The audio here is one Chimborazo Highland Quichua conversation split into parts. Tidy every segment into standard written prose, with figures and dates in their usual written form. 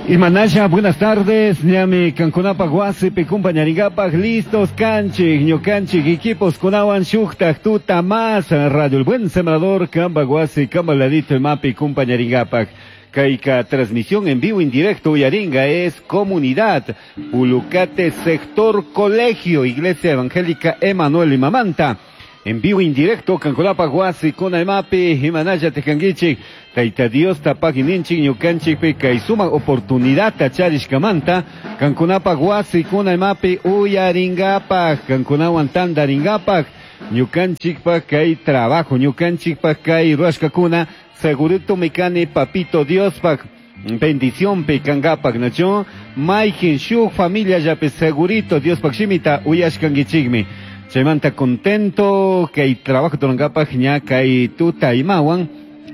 Imanasha, buenas tardes, ñami kankunapaj wasipi kumpañarinkapak listos kanchik, ñukanchik equipos kunawan shuktak tuta más, Radio El Buen Sembrador, kamba wasi, kamba ladito imapi kumpañarinkapak. Kayka transmisión en vivo en directo uyaringa es Comunidad Pulucate Sector Colegio, Iglesia Evangélica Emanuel Imamanta. En vivo en directo, kankunapaj wasi, kuna imapi, imanalla tikankichik, Tayta Diosta pagininchik ñukanchikpi kay sumak oportunidadta charishkamanta, kankunapaj wasi, kuna imapi uyarinkapak, kankunawan tantarinkapak, ñukanchikpak kay trabajo, ñukanchikpak kay ruashkakuna, segurito mikani papito Diospak bendición pi kankapak, nachu? Mayjin shuk familia llapi segurito Diospak shimita uyashkankichikmi. Chaymanta contento kay trabajo turankapak ña kay tuta imawan,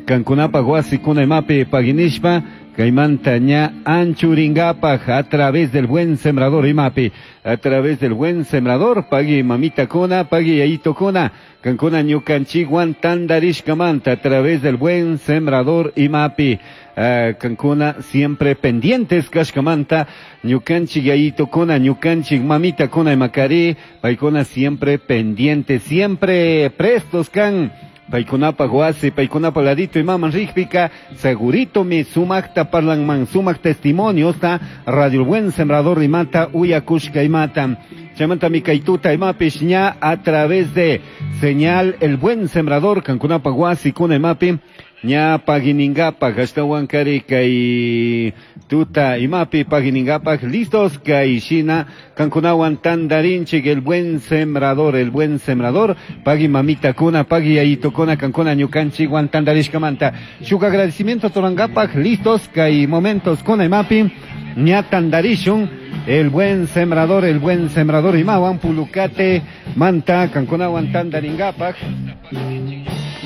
kankunapaj wasi kuna imapi paginishpa, kaymanta ña anchurinkapak a través del Buen Sembrador imapi, a través del Buen Sembrador, pagui mamita kuna, pagui yayito kuna, kankuna ñukanchikwan tandarishkamanta a través del Buen Sembrador imapi. Kankuna siempre pendientes kashkamanta, ñukanchik yayito kuna, ñukanchik mamita kuna imakari, paykuna siempre pendientes, siempre prestos kan. Paykunapaj wasi, paykunapaj ladito imaman rikpika, segurito mi sumakta parlanman, sumak testimoniosta, Radio El Buen Sembrador imata, uyakushka imata. Chaymanta mi kaytuta imapish ña a través de señal El Buen Sembrador, kankunapaj wasi kuna imapi, ña paginingapak, ashtawan kari kay tuta imapi paginingapak, listos kay shina, kankunawan tandarinchik El Buen Sembrador, El Buen Sembrador, pagui mamita kuna, pagui yayito kuna, kankuna ñukanchikwan tandarishkamanta. Shuk agradecimiento torangapak, listos kay momentos kuna imapi, ña tandarishun, El Buen Sembrador, El Buen Sembrador imawan, Pulucate, manta, kankunawan tandaringapak.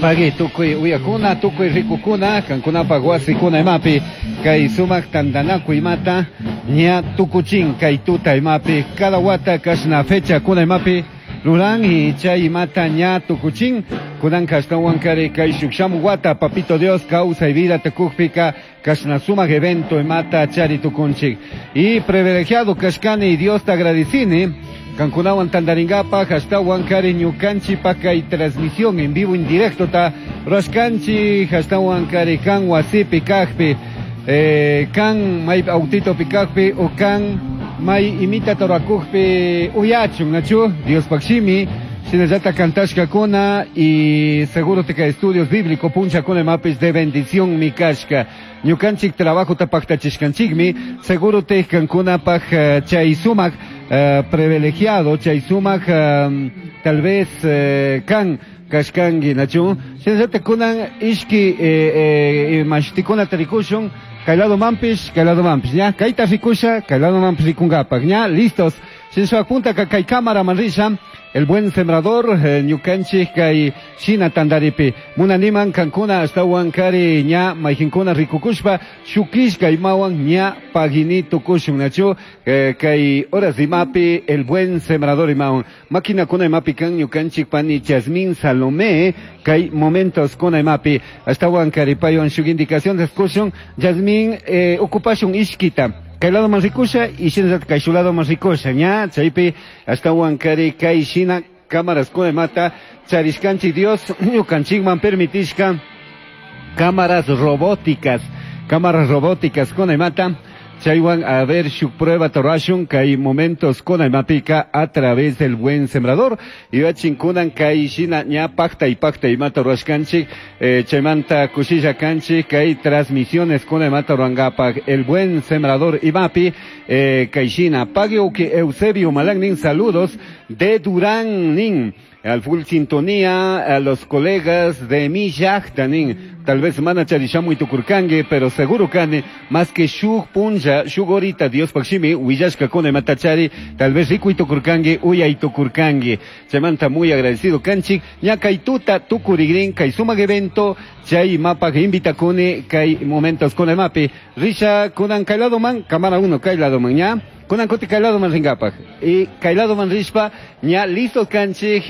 Pagui tukuy uyakuna, tukuy rikukuna, kankunapaj wasikuna imapi, kay sumak tandanakuy imata, ña tukuchin kay tuta imapi, cada wata kashna fecha kuna imapi, ruran y chay imata ña tukuchin, kunan kashtawan kari kay shuk shamu wata, papito Dios, causa y vida tekukpika, kashna sumak evento imata chari tukunchik. Y privilegiado kashkani, Dios te agradecini, kankunawan tandaringapak, ashtawan kari ñukanchi pakay transmisión en vivo en directo ta rashkanchi, ashtawan kari kan wasipi kajpi, kan may autito pikajpi, o kan may imita torakujpi uyachun, nachu, Dios pakshimi, shinallata kantashka kuna y seguro te que estudios bíblico puncha kuna mapis de bendición mi kashka. Ñukanchik trabajo tapaktachishkanchikmi, seguro te kankuna paj chay sumak, privilegiado, chay sumak, tal vez kan kashkangi, nachu. Shinallata kunan ishki, mashtikuna tarikushun, kaylado mampish, kaylado mampish, ña, kayta rikusha, kaylado mampish rikungapak, ña, listos. Shinshua punta ka kay cámara manrisha, El Buen Sembrador, ñukanchik kay shina tandaripi. Munaniman kankuna ashtawan kari ña mayjinkuna rikukushpa, shukishka imawan ña pagini tukushun, nachu, kay horas imapi, El Buen Sembrador imawan. Máquina kuna imapi kan ñukanchik pani Yasmín Salomé, kay momentos kuna imapi. Ashtawan kari payon shuk indicación de escushun, Yasmín, ocupashun ishkita. Kay lado más rikusha y shina kay su lado más rikusha, ña, chaypi, ashtawan kari kay shina cámaras kuna mata, charishkanchik Dios, ñukanchikman permitishka, cámaras robóticas, cámaras robóticas kuna mata, chaywan a ver shuk prueba torashun kay momentos kuna mapika a través del Buen Sembrador, y achinkunan kay shina ña pacta y pacta y mata rashkanchik, chaymanta kushilla kanchik kay transmisiones kuna mata ruangapak El Buen Sembrador y mapi, kay shina pagio que Eusebio Malangnin, saludos de Durán nin. Al full sintonía, a los colegas de mi nin, tal vez mana charishamu y tukurkangue, pero seguro kane, más que shug punja, shug horita, Dios pakshimi, huillashka kone matachari, tal vez rico y tukurkangue, uya y tukurkangue. Chamanta muy agradecido kanchik, ña kay tuta tukurigrin, kay sumag evento, chay mapa que invita kone, kay momentos kone mapi. Risha kunan kay lado man, cámara 1 kay lado man, ña. Kunan kuti kay ladoman ringapaj. Y kay ladoman rishpa ña listos kanchik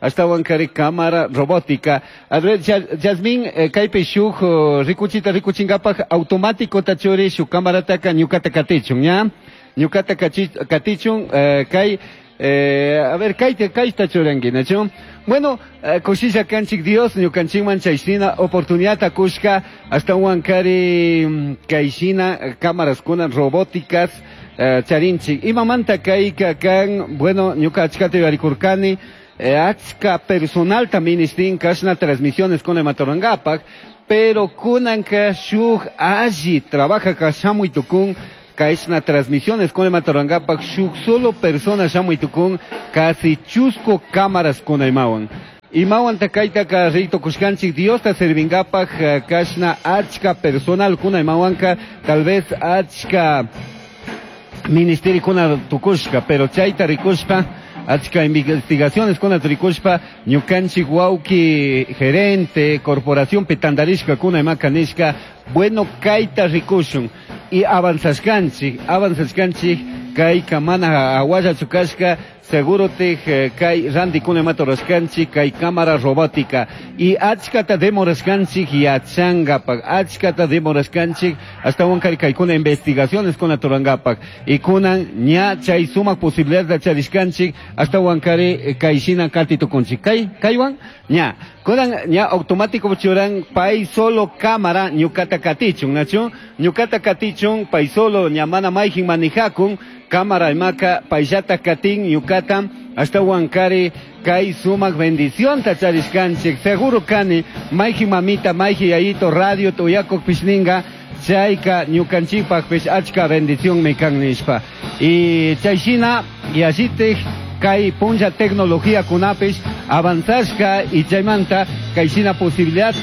ashtawan kari cámara robótica. A ver, Yasmin, kaypi shuk rikuchita rikuchinkapaj automático tachuri shuk cámarataka ñukata katichun, ña? Ñukata katichun, kay a ver, kayta churanki, nachu? Bueno, kushilla kanchik Dios, ñukanchikman chayshina oportunidad kushka, ashtawan kari kayshina cámaras kuna robóticas charinchik. Imamanta kayka kan, bueno, ñuka achkata yuyarikurkani, achka personal ministin kashna transmisiones kuna imatorangapak, pero kunanka shuk alli trabaja ka shamuy tukun, kashna transmisiones con imatorangapak shuk solo persona shamuy tukun, casi chusco cámaras kuna imawan. Imawan takaytaka rito kushkanchik Diosta servingapak kashna achka personal kuna imawanka, tal vez achka ministerio kuna tukushka, pero chayta rikushpa achka investigaciones kuna rikushpa ñukanchik wawki gerente corporación petandarishka kuna imaka nishka, bueno kayta rikushun y avanzashkanchik, avanzashkanchik kayka mana awallachu kashka, seguro te kay ranti kuna imata rurashkanchik kay cámara robótica y achkata demorashkanchik yachangapak, achkata demorashkanchik ashtawan kari kaykuna investigaciones kuna turangapak y kunan ña chay sumak posibilidad de charishkanchik ashtawan kari kayshina kati tukunchik kay kaywan ña kunan ña automático churan pay solo cámara ñukata katichun, nachu ñukata katichun pay solo ña mana mayjin manijakun cámara imaka payllata katin ñukata ashtawan kari kay sumak bendición tacharishkanchik seguro kani mayji mamita mayji yayito radio tuyakuk pishninga chayka ñukanchikpakpish achka bendición mi kan nishpa y chayshina yallitik kay punlla tecnología kunapish avanzashka y chaymanta kayshina posibilidad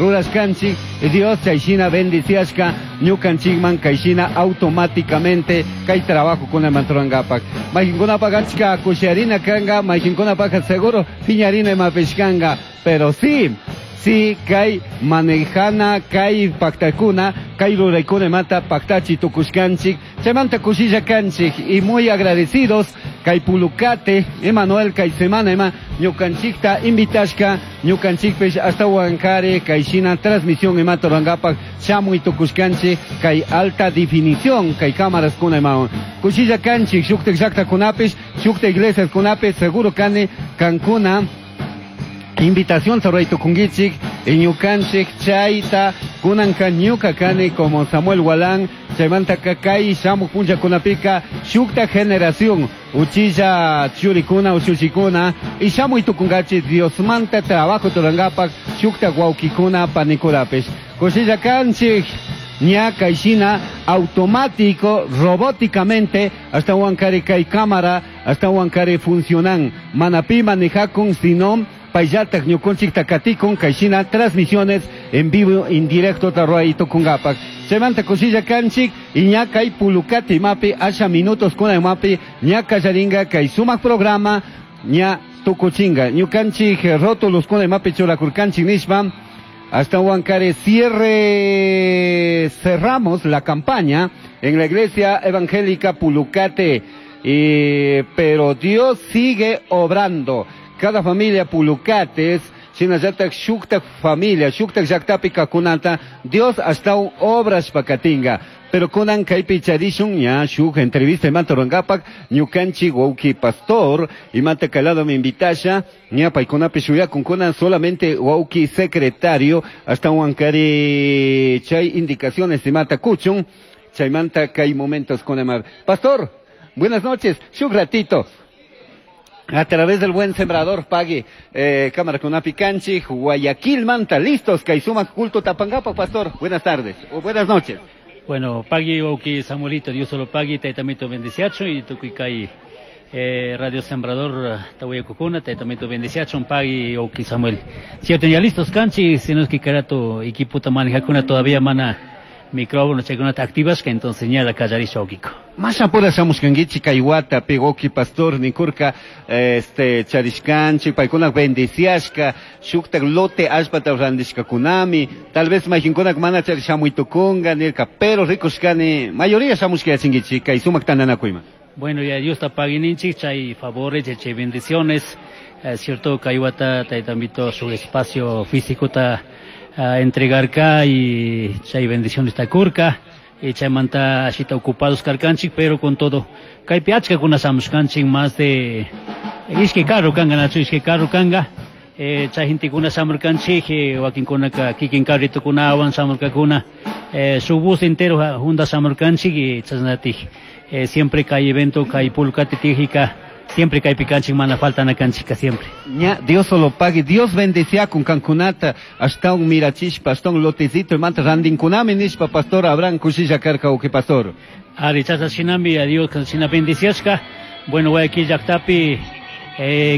rurashkanchik Dios chayshina bendiciashka ñukanchikman kayshina automáticamente kay trabajo kuna manturangapak maykinkunapak achka kushiarina kanga maykinkunapak seguro piñarina imapish kanga pero sí sí kay manejana kay paktakuna kay ruraykuna imata paktachi tukushkanchik chaymanta kushilla kanchik y muy agradecidos kay Pulucate Emanuel kay semana ima ñukanchikta invitashka ñukanchikpish ashtawan kari kayshina transmisión imata rurangapak shamuy tukushkanchik kay alta definición kay cámaras kuna imawan kushilla kanchik shuktak llaktakunapish shukta iglesias kunapish seguro kani kankuna invitación ruray tukunkichik ñukanchik chayta kunanka ñuka kani como Samuel Gualán chaymanta kay shamuq punllakunapika shukta generación uchilla churikuna uchuchikuna y shamuy tukunkachi Diosmanta trabajo turangapak shukta wawkikuna panikurapish kushilla kanchik ña kayshina automático robóticamente hasta wankari kay cámara hasta wankari funcionan mana pi manejakun sino payllatak ñukunchik takatikun kayshina transmisiones en vivo en directo ruray tukungapak chaymanta kushilla kanchik y ña kay Pulucate imapi asha minutos kuna imapi ña kallaringa kay sumak programa ña tukuchinga ñukanchik rótulos kuna imapi churakurkanchik nishpa hasta Huancaré cierre cerramos la campaña en la iglesia evangélica Pulucate, pero Dios sigue obrando. Cada familia Pulucates, shinallatak shuktak familia, shuktak llaktapi kakunata, Dios hasta un obras pakatinga. Pero kunan kaypi charishun ña shuk entrevista imanta rurangapak ñukanchik wawki pastor imanta kalado mi invitasha ña paykunapi shuyakun kunan solamente wawki secretario hasta wankari chay indicaciones imanta kuchun chaymanta kay momentos kunamar. Pastor, buenas noches, shuk ratito. A través del Buen Sembrador pague cámara con Apicanchi, Guayaquil Manta, listos, Kaisuma culto Tapangapa, pastor. Buenas tardes o buenas noches. Bueno, pagui wawki Samuelito, Dios solo pagui, taytamito bendiciacho y tukuy kay Radio Sembrador tawayakukuna, taytamito bendiciacho, pagui wawki Samuel. Cierto, ya listos canchi, si no es que carato equipo manejakuna todavía mana Micrófono chaykunata activashka, entonces ñala kallarisha wawkiko. Mashapura shamushkankichik kay watapi, wawki pastor, nikurka charishkanchik, paykuna bendiciashka, shuktak lote allpata randishkakunami, tal vez mayqinkunak mana chari shamuy tukunga nirka, pero rikushkani mayoría shamushka yachinkichik kay sumak tantanakuyman. Bueno, ya Dios ta paguininchik, chay favores, chay bendiciones, cierto, kay wata taytamito su espacio físico ta entregarka y chay bendiciones ta kurka, y chaymanta ashita ocupados karkanchik, pero con todo kaypi achkakuna shamushkanchik, más de ishkay carro kanga, nachu ishkay carro kanga, chay gentekuna shamurkanchik, wakinkunaka kikin carritukunawan shamurkakuna, su bus entero junta shamurkanchik, y chasnatik, siempre kay evento, kay pulkati tijika, siempre kaypi kanchik, mana falta na kanchika siempre. Ña, Dios solo pague, Dios bendecía con kankunata, hasta un mirachispa, hasta un lotecito, y manta randinkunami nishpa, pastor Abraham kushilla karka, uki pastor. Ari, chasa shinami, a Dios, shina bendiciashka. Bueno, Guayaquil llaktapi,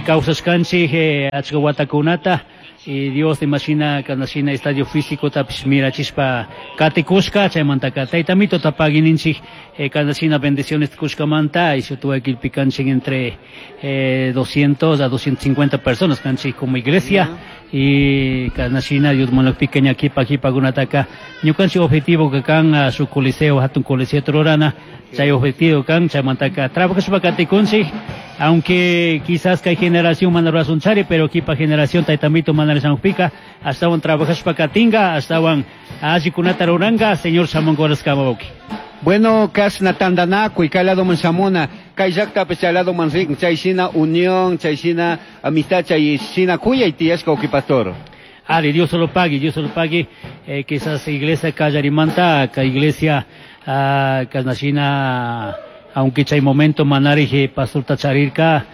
kawsashkanchik, achka watakunata, y Dios imagina kanashina estadio físico tapish mirachispa katikushka, chaymantaka taytamito tapaguininchik, kanashina bendiciones kushkamanta, y Guayaquil pikanchik entre 200 a 250 personas kanchik como iglesia, y kanashina Dios monok pequeña kipa kipa gunataka ñukanchik objetivo que kan a su coliseo, hatun coliseo trorana, chay objetivo kan chaymantaka trabajashpa katikunchik, aunque quizás kay generación mana razón chari, pero kipa generación taytamito mana pica, hasta un trabajashpa katinga, hasta un allikunata ruranga, señor shamungoraskama wawki. Bueno, kashna tandanakuy, kay lado man shamuna, kay llaktapi chay lado man rin, chay shina unión, chay shina amistad, chay shina kuyay tiyashka wawki pastor. Ari, Dios lo pague, Dios lo pague, quizás iglesia kallarimanta, ka iglesia, kasnashina, aunque chay momento manarije pastor tacharirka,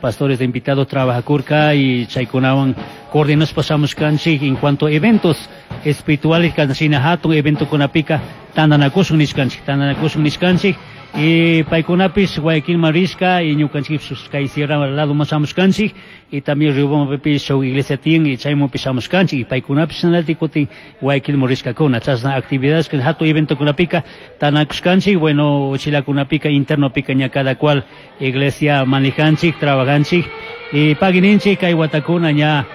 pastores de invitados trabajakurka y chaykunawan coordinos pasamos kanchik en cuanto a eventos espirituales kasnashina hatun evento kunapika tandanakushun nishkanchik, tandanakushun nishkanchik, y paykunapis Guayaquil marishka y ñukanchik kay sierra lado masamos kanchik, y también Riobambapis shuk iglesia tiyan y chaymanpis shamush kanchik, y paykunapis shinaltik kutin Guayaquil morishkakuna, chashna actividades que hatun evento kunapika tanakushkanchik, bueno, chilakunapika internopika ña cada cual iglesia manejanchik, trabajanchik, y paguininchik kay watakuna ña,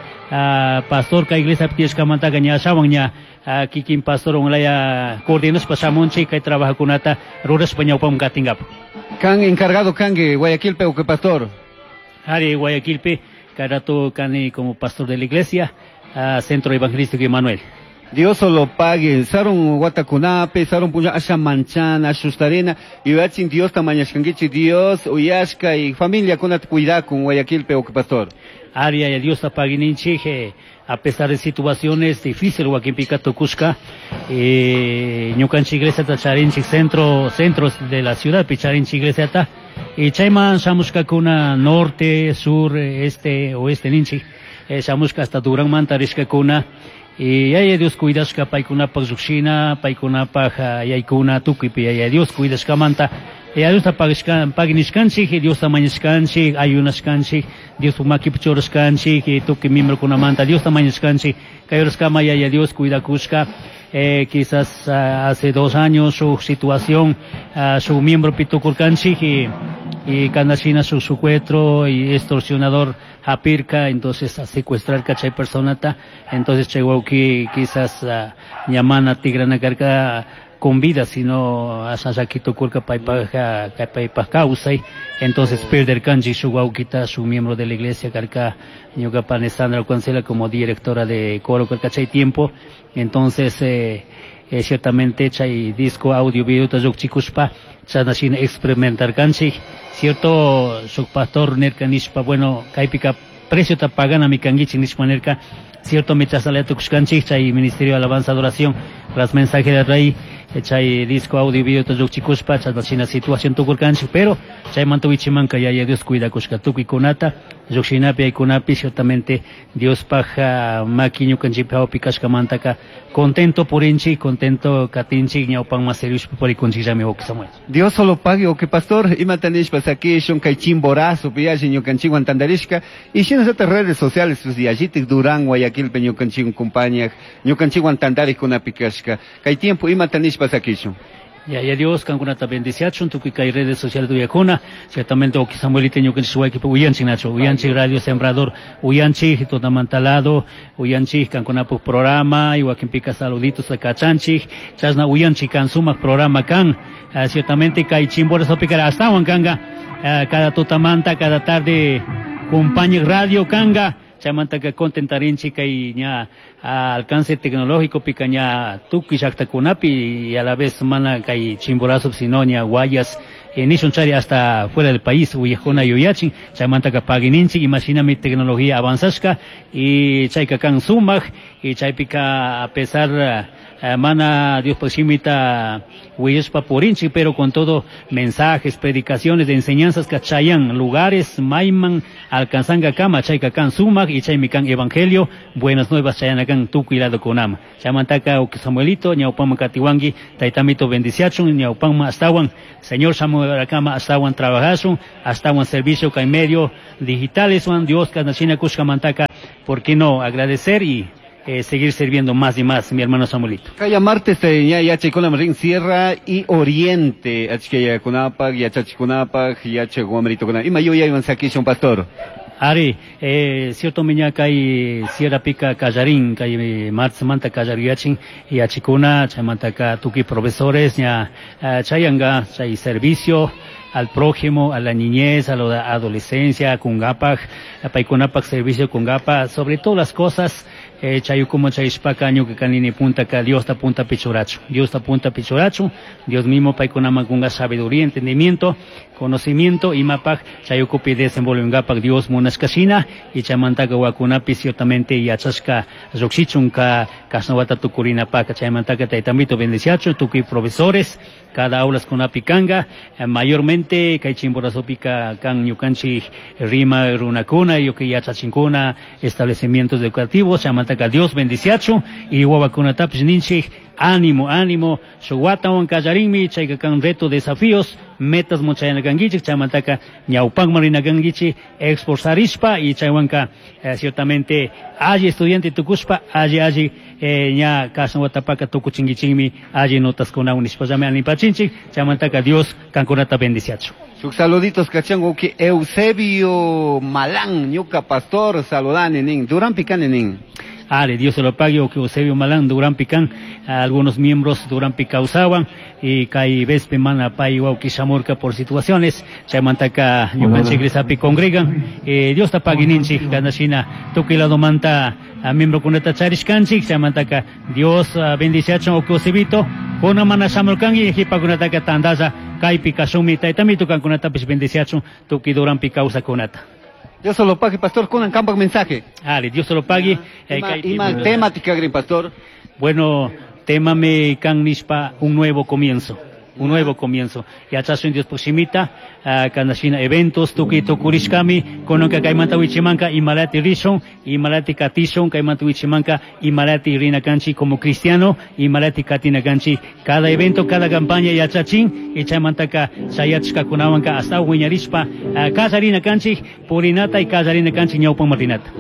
pastor kay iglesia tiyashkamantaka ña shawan ña, kikin pastor unlaya coordinas pashamunchik kay trabajakunata rurashpa ñawpaman katinkapu. Kan encargado kanki Guayaquilpi o que pastor? Ari, Guayaquilpi, kay rato kani como pastor de la iglesia, Centro Evangelístico Emanuel. Dios solo pague, sarun watakunapi, sarun puña asha manchana, asustarena, y yachin Dios tamañashkankichi, Dios uyashka y familia kunata cuidakun Guayaquilpi o que pastor. Ari, ay, Dios tapaguininchik, a pesar de situaciones difíciles, wakinpika tukushka, ñukanchik iglesia ta charinchik centros de la ciudad, picharinchik iglesia ta, y chayman shamushkakuna norte, sur, este, oeste ninchik, shamushka hasta Durán manta rishkakuna, y ay, Dios cuidashka paykunapaj lluqshina, paykunapaj yaykuna tukuypi, ay, Dios cuidashkamanta, y Dios ta paginishkanchik, y Dios ta mañashkanchik, ayunashkanchik, Dios makipi churashkanchik, y tukuy miembrokunamanta, Dios ta mañashkanchik, kay horaskama, ay, ay, Dios cuidakushka, quizás, hace 2 años su situación, su miembro pitukurkanchik, y kanashina su secuestro y extorsionador hapirka, entonces a secuestrar chay personata, entonces chay wauki quizás, ñamana tigrana karka con vida, sino asasakito kurka paypaja, paypaj kawsay, entonces perder kanchi su wauquita, su miembro de la iglesia karka ñuka pane Sandra Cancela como directora de coro karka chay tiempo, entonces, ciertamente chay disco audio video ta lluqchikuspa chasnashina experimentar kanchik, cierto su pastor nerka nishpa, bueno, kaypika precio ta pagana mi kankichik nishpa nerka, cierto mi chasnalaya tukushkanchik chay ministerio de alabanza adoración tras mensaje del rey, chay disco audio video ta lluqchikuspa chasnashina situación tukurkanchik, pero chaymanta wichimanka yaya Dios cuidakushka tukuykunata. Lluqshinapi aykunapi ciertamente Diospaj maki ñukanchikpi hawpi kashkamantaka contento purinchik, contento katinchik, ñawpanman servishpa purikunchikllami wawqi Samuel. Dios solo pague, wawqi pastor, imata nishpa sakishun kay Chimborazo yalli ñukanchikwan tantarishka y shinallatak redes sociales yallitik Durán Guayaquilpi ñukanchikwan compañak, ñukanchikwan tantarikkunapi kashka. Kay tiempo imata nishpa sakishun. Ya, Dios, kankunata bendiciachun, tukuy kay redes sociales uyakuna, ciertamente wawqi Samuelita ñukanchik waykipi uyanchik nacho, uyanchik Radio Sembrador, uyanchik tutamantalado, uyanchik kankunapuk programa, y wakinpika saluditos kachanchik, chashna uyanchik kan sumak programa kan, ciertamente kay Chimborazopi astawan kanga, cada tutamanta, cada tarde compañía radio kanga, chaymantaka contentarinchik kay ña alcance tecnológico pika ña tukuy llaqtakunapi y a la vez mana kay Chimborazo sino ña Guayas nishun chari hasta fuera del país uyajuna yuyachin, chaymantaka paguininchik imashinami tecnología avanzashka y chayka kan sumak y chaypika a pesar mana Dios shimita willashpa purinchik, pero con todo mensajes, predicaciones de enseñanzas kachayan lugares mayman alcanzanga kama chayka kan sumak y chaymi kan evangelio buenas nuevas chayana kan tukuy lado kunama. Chaymantaka wawqi Samuelito ñawpanman katiwanki taytamito bendiciachun ñawpanman astawan Señor Samuel kama astawan trabajashun astawan servicio kay medio digitales wan Dios kasnachina kushkamantaka, ¿por qué no agradecer y seguir sirviendo más y más, mi hermano Samuelito? Kaya martes ya yachaykunam rin Sierra y Oriente, achkayakunapaq, yachachikunapaq, yachaq wamritukuna. Ima yuyaywan sakishun, pastor? Ari, cierto miña kay Sierra Pica Callarín, kay martes manta kallariyachin yachikuna, chaymantaka tukuy profesores ña chayanga chay servicio al prójimo, a la niñez, a la adolescencia, kungapak, paykunapak servicio kungapa, sobre todas las cosas, chayukuma chayishpaka ñuka kanini puntaka Diosta punta pichurachu, Diosta punta pichurachu, Dios mismo paykunaman kunga sabiduría, entendimiento, conocimiento, imapak chayukupi desenvolvengapak Dios munashkashina, y chaymantaka wakunapi ciertamente yachashka llukshichun ka kashnawata tukurinapaka, chaymantaka taytamito bendiciachu, tukuy profesores, cada aulas kunapi kanga, mayormente kay Chimborazopika kan ñukanchik rima runakuna, yuki yachachinkuna, establecimientos educativos, chaymantaka Dios bendiciachu, y wawakunatapish ninchik, ánimo, ánimo, shuk watawan kallarinmi, chayka kan reto, desafíos, metas muchayana kankichik, chaymantaka ñawpanman rina kankichik, esforzarishpa, y chaywanka ciertamente alli estudiante tukushpa, alli alli ña kashna watapaka tukuchinkichikmi, alli notas kunawan nishpallami animpachinchik, chaymantaka Dios kankunata bendiciachu. Shuk saluditos kachan wawqi Eusebio Malán, ñuka pastor, saludani nin, Durán Picani nin. Ale, Dios se lo pague, que Eusebio Malán, Durán Picán, algunos miembros Durán Picausaban, y kay vespe mana pay wawqi shamurka por situaciones, chaymantaka ñukanchik iglesiapi congregan, Dios ta pague ninchik, kanashina tukuy ladomanta miembrokunata charishkanchik, chaymantaka Dios bendiciachun wawqi Eusebito, kuna mana shamurkanki, jipakunataka tandalla kaypi kashunmi, taytamito kankunatapish bendiciachun tukuy Durán Picausakunata. Dios se lo pague, pastor, con campo mensaje. Ale, Dios se lo pague. Ima temática, Green Pastor. Bueno, tema me kan nishpa un nuevo comienzo. Un nuevo comienzo. Yachasun Dios proximita, kanashina eventos, tuki tukurishkami, kononka kaymanta wichimanka, imalati rishon, imalati katishon, kaymanta wichimanka, imalati rina kanchi como cristiano, imalati katina kanchi. Cada evento, cada campaña yachachin, y chaymantaka chayachka kunawanka hasta wiñarishpa, kallarina kanchi, purinata y kallarina kanchi ñawpan marinata.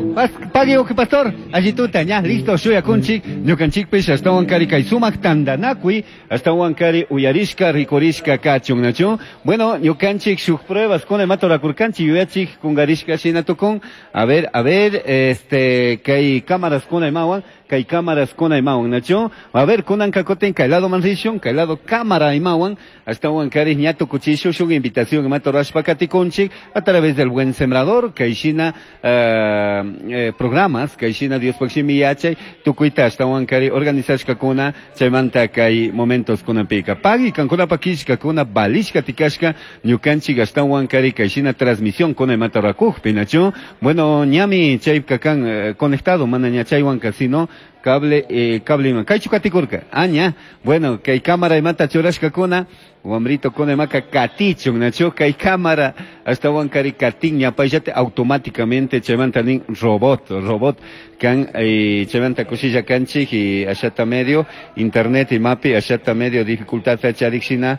Pague wawqi pastor, allituta, ña, listo, shuyakunchik, ñukanchikpish, ashtawan kari kay sumak tandanakui, ashtawan kari uyarishka, rikurishka kachun, nachu. Bueno, ñukanchik shuk pruebas con el mato rakurkanchik, yuyachik kungarishka shina tukun. A ver, este, kay cámaras con el mawan, kay cámaras con el mawan, nachu. A ver, kunan kakoten, kay lado manrishun, kay lado cámara imawan, hasta wan kari ñato cuchillo, shuk invitación mato rashpakatikunchik, a través del Buen Sembrador, kay shina, programas, kay shina Dios pakshimi yachay, tukuita hasta wan kari organizashka kuna, chaymanta kay momentos kuna pika. Pagi kankuna pakishka kuna balishka tikashka, ñukanchik ashtawan kari kay shina transmisión kuna imata rakujpi, nachu. Bueno, ñami chaypka kan conectado, mana ña chaywanka, sino cable, cable ima. Kaychu katikurka, aña. Bueno, kay cámara imata churashka kuna. Wamrito kunemaka katichun, nachu kay cámara ashtawan kari katin ñapayllata automáticamente chaymanta nin robot, robot kan chaymanta kushilla kanchik y ashata medio internet imapi ashata medio dificultad charikshina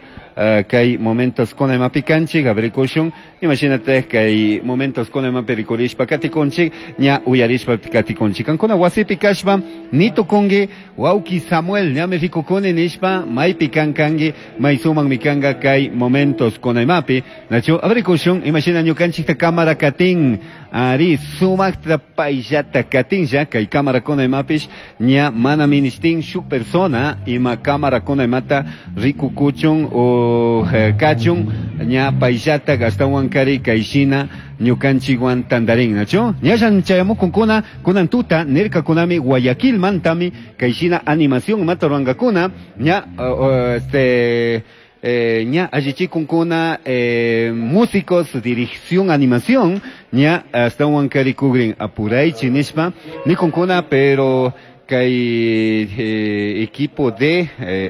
kay momentos kunemapi kanchik abrikushun, imagínate kay momentos kunemapi rikurishpa katikunchik ña uyarishpa katikunchik. Kankuna wasipi kashpa nitukunki wawki Samuel ñami rikukuni nishpa maypi kan kanki may sumakmi kanga kay momentos kunemapi nachu abrikushun, imagina ñukanchikta cámara katin ari sumakta payllata katinlla kay cámara kunemapish ña mana ministin shuk persona ima cámara kunemata rikukuchun o kachun ña payllata ashtawan kari kayshina ñukanchikwan tandarin nachu ñallan chayamukunkuna kunan tuta nirkakunami Guayaquil mantami kayshina animación mata ruwankakuna ña ña allichikunkuna músicos dirección animación ña ashtawan kari kugrin apuraychi nishpa nikunkuna pero kay equipo de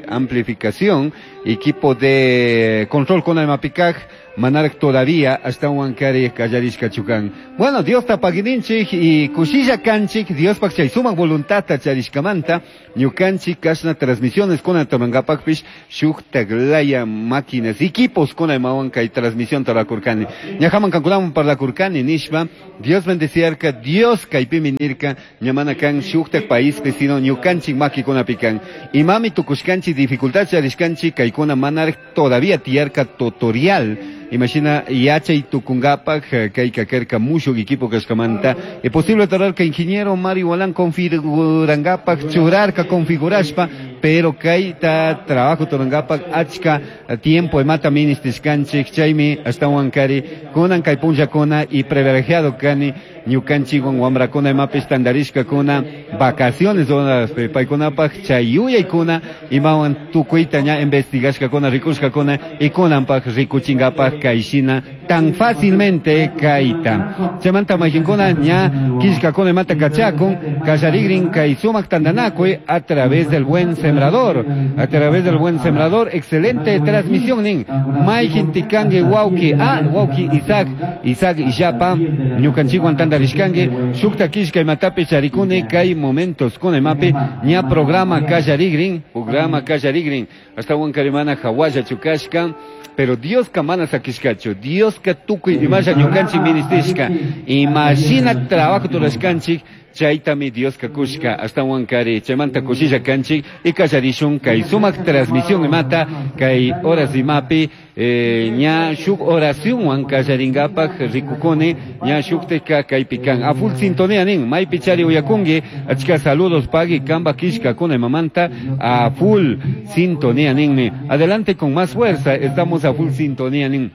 amplificación, equipo de control con el mapikaj manark todavía ashtawan kari kallarishka chukan. Bueno, Dios ta pagininchik y kushilla kanchik, Dios pak chay sumak voluntad charishkamanta, ñukanchik kashna transmisiones con el torangapakpish, shuk taglaya máquinas, equipos con el mawan kay transmisión tarakurkani. Ñajaman kankunaman parlakurkani nishpa, Dios bendeciarka, Dios kaypimi nirka, ñamana kan shuktak país sino ñukanchik makikunapikan. Imami tukushkanchik dificultad charishkanchik kaykuna manark todavía tiyarka tutorial. Imagina yachay tukungapak kay kakerka mushu equipo kashkamanta. Es posible que ingeniero Mario Walán configurangapak churarka configurashpa, pero kay ta trabajo turangapak achka tiempo emata ministishkanchik chaymi ashtawan kari kunan kay punllakuna y privilegiado kani ñukanchikwan wamrakuna imapis tandarishkakuna vacaciones paykunapak chay yuyaykuna imawan tukuyta ña investigashkakuna rikushkakuna y kunanpak rikuchingapak kayshina tan fácilmente kayta. Chaymanta mayqinkuna ña killkakuna imata kachakun kallarigrin kay sumak tandanakuy a través del buen sembrador, a través del buen sembrador, excelente transmisión nin mayqin tikanki wawki wawki Isaac, Isaac Illapa ñukanchikwan tandarishkanki shukta killka imatapi charikuni kay momentos kunemapi ña programa kallarigrin, programa kallarigrin ashtawan karimana hawalla chukashka, pero Dios ka mana sakishkachu, Dios ka tukuy imasha ñukanchik ministishka, imashina trabajo turashkanchik chaytami Dios ka kushka ashtawan kari chaymanta kushilla kanchik y kallarishun kay sumak transmisión imata kay horas imapi ña shuk oracionwan kallaringapak rikukuni ña shuktika kaypi kan a full sintonía nin maypi chari uyakunki achka saludos pagui kamba kishka kuna mamanta a full sintonía ninmi adelante con más fuerza, estamos a full sintonía nin.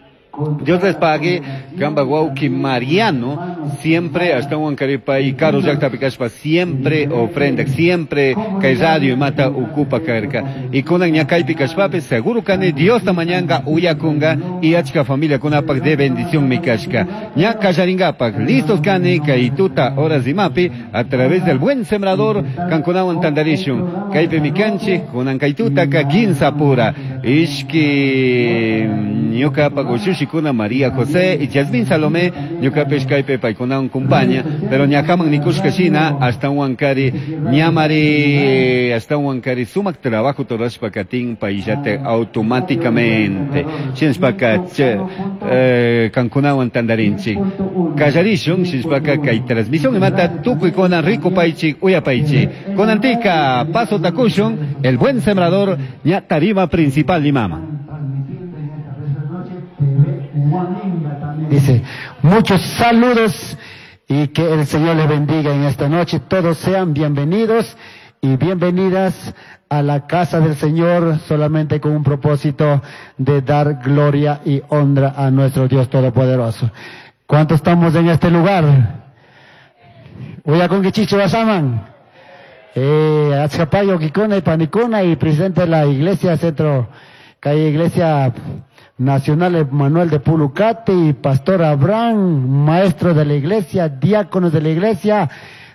Dios les pague, Gamba Wauki Mariano, siempre hasta Huancaripay, Carlos Yacta Picaspa, siempre ofrenda, siempre que radio y mata ocupa carca. Y con Ñacay Picaspape, seguro que Dios tamañanga, uyakunga, y achka familia con apac de bendición mikashka. Ñaca Yaringapac, listos kane, kaituta, horas y mapi, a través del buen sembrador, Cancunawan Tandarishun, Kaipe Mikanchi, Kunankaituta, Kakinsa pura, Ishki, ñuka pagoshishikuna María José y Yasmín Salomé, ñuka peshkaipe paikunawan kumpaña, pero ñakaman nikushka shina hasta Huancari, ñamari, hasta Huancari sumak trabajo torashpa katin payllate automáticamente. Shinshpaka kankunawan tandarinchik. Kallarishun, shinshpaka kay transmisión imata tukuy konan rico paychik, uyapaychik. Konantika, paso takushun, el buen sembrador, ña tarima principal limama. Dice, muchos saludos y que el Señor les bendiga en esta noche. Todos sean bienvenidos y bienvenidas a la casa del Señor, solamente con un propósito de dar gloria y honra a nuestro Dios Todopoderoso. ¿Cuántos estamos en este lugar? Uyakunkichichu wasaman. Achkapayo kikuna y panikuna y presidente de la iglesia Centro, calle Iglesia Nacional Manuel de Pulucate y Pastor Abraham, maestro de la iglesia, diáconos de la iglesia,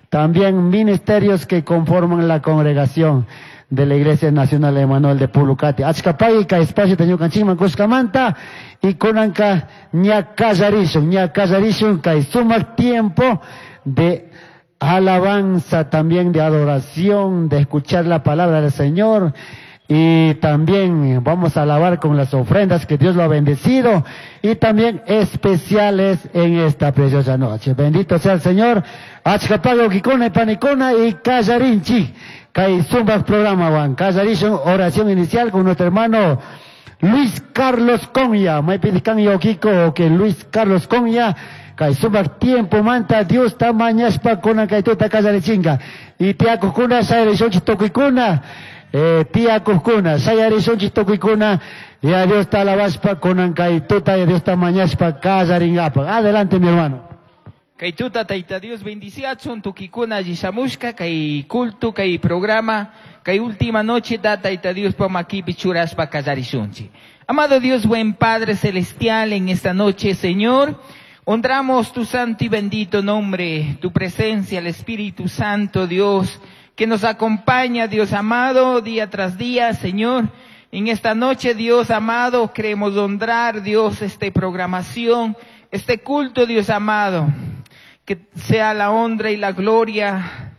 también ministerios que conforman la congregación. de la Iglesia Nacional Emanuel de Pulucati. Achka pagui kay espacio ñukanchikman kushkamanta y kunanka ña kallarishun, ña kallarishun kay sumak tiempo de alabanza, también de adoración, de escuchar la palabra del Señor. Y también vamos a alabar con las ofrendas que Dios lo ha bendecido y también especiales en esta preciosa noche. Bendito sea el Señor. Achka pagui wawkikuna y panikuna y kallarinchik. Kay sumak programa wan. Kallarishun oración inicial con nuestro hermano Luis Carlos Conya. Maypitik kan Kiko que Luis Carlos Conya. Kay sumak tiempo manta Diosta mañashpa kunan kay tuta kallarichinga. Y tiyakukuna shayarishunchik tukuykuna. Tiyakukuna shayarishunchik tukuykuna. Y a Diosta alabashpa kunan kay tuta y Diosta mañashpa kallaringapaq. Adelante mi hermano. Kay tuta Tayta Dios bendiciachun tukuykuna alli kay culto kay programa kay última noche da Tayta Dios pa makipi churashpa kallarishunchik. Amado Dios, buen Padre celestial, en esta noche, Señor, honramos tu santo y bendito nombre, tu presencia, el Espíritu Santo, Dios, que nos acompaña, Dios amado, día tras día, Señor. En esta noche, Dios amado, queremos honrar, Dios, esta programación, este culto, Dios amado. Que sea la honra y la gloria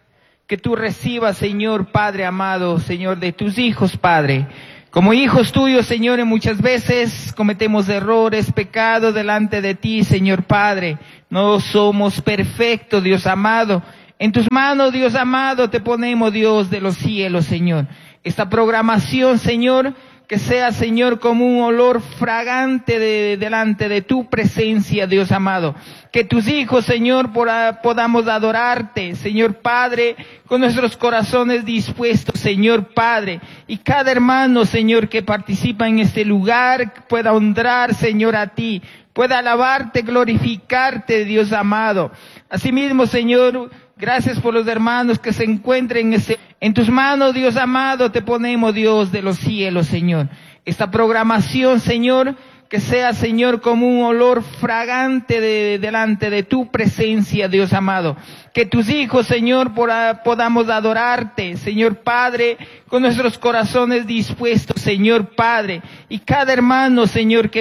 que tú recibas, Señor Padre amado, Señor, de tus hijos, Padre. Como hijos tuyos, Señor, muchas veces cometemos errores, pecados delante de ti, Señor Padre. No somos perfectos, Dios amado. En tus manos, Dios amado, te ponemos, Dios de los cielos, Señor. Esta programación, Señor, que sea, Señor, como un olor fragante delante de tu presencia, Dios amado. Que tus hijos, Señor, podamos adorarte, Señor Padre, con nuestros corazones dispuestos, Señor Padre. Y cada hermano, Señor, que participa en este lugar, pueda honrar, Señor, a ti, pueda alabarte, glorificarte, Dios amado. Asimismo, Señor, gracias por los hermanos que se encuentren en tus manos, Dios amado, te ponemos, Dios de los cielos, Señor. Esta programación, Señor, que sea, Señor, como un olor fragante delante de tu presencia, Dios amado. Que tus hijos, Señor, podamos adorarte, Señor Padre, con nuestros corazones dispuestos, Señor Padre. Y cada hermano, Señor, que